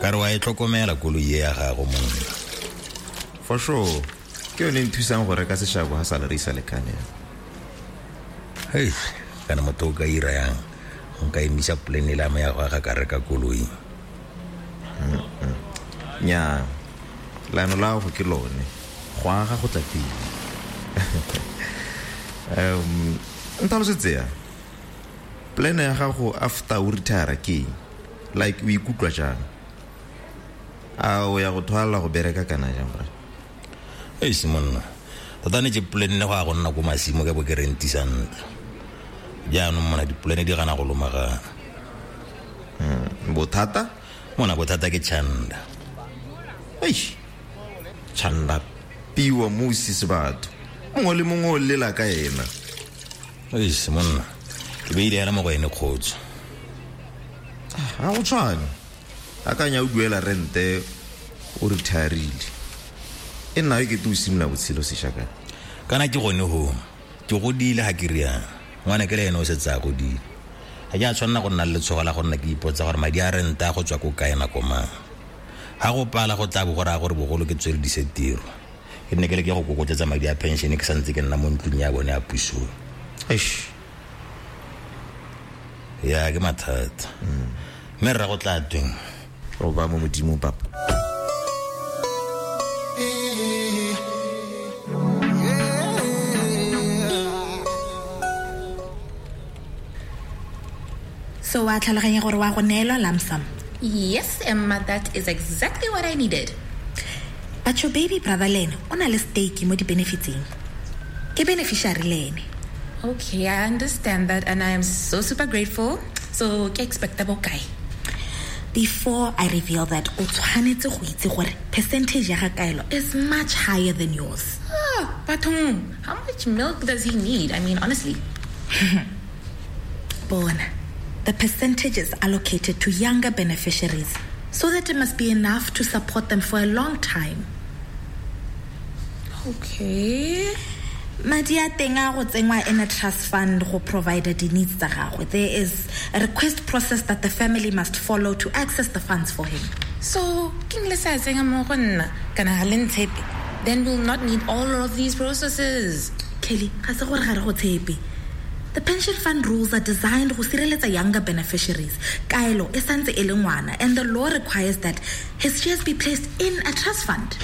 Ka re wa e tlhokomela koloi e ya gago monna. For sure, ke yone e nthusang go reka seshabo ga salary e sa lekane. Hei, kana motho o ka ira yang nka emisa polane le ame ya go aga ka reka koloi. Nya, leano la gago ke lone, go aga go tla pele. Ntlhalosetse ya plan ya gago after o retire ke eng? Like o ikutlwa jang? A o ya go thwala go bereka kana jang bra? Eish monna, tota ne ke planne go ya go nna ko masimo ke bo ke rentisa ntlo. Jaanong mona dipolane di gana go lomagana. Bothata? Mona bothata ke Chanda. Eish, Chanda piwa musi sebatho. Mongwe le mongwe o lela ka ena. Eish monna, ke beile hela mo go ene kgotso. Ga go tshwane. Akanya o duela rente o retirile. E nna e kete o simolola botshelo sešwa kana. Kana ke gone ho, ke godile ga ke riana. Ngwana ke le ene o setse a godile. Ga ke a tshwanela go nna le letshogo la go nna ke ipotsa gore madi a rente a go tswa ko kae nako mang. Ga go pala go tla bo go raya gore bogolo ke tsweledise tiro. Ke nne ke leke go kokotletsa madi a pension ke santse ke nna mo ntlong ya bone ya puso. Eish. Ya ke mathata. Mme rra go tla tweng? O ba mo modimo papa. So wa tlhaloganya gore wa go neelwa lump sum? Yes, Emma, that is exactly what I needed. But your baby brother le ene o na le stake mo di-benefitseng. Ke beneficiary le ene. Okay, I understand that and I am so super grateful. So, ke expecta bokae? Before I reveal that, o tshwanetse go itse gore percentage ya ga Kaelo is much higher than yours. Ah, bathong, how much milk does he need? I mean, honestly. Bona, the percentage is allocated to younger beneficiaries so that it must be enough to support them for a long time. Okay. Madi a teng a go tsengwa in a trust fund go provide the needs tsa gagwe. There is a request process that the family must follow to access the funds for him. So, ke le sa tsenya mo go nna kana ga le ntshepe? Then we'll not need all of these processes. Kelly, ga se gore ga re go tshepe. The pension fund rules are designed go sireletsa younger beneficiaries. Kaelo e santse e le ngwana and the law requires that his shares be placed in a trust fund.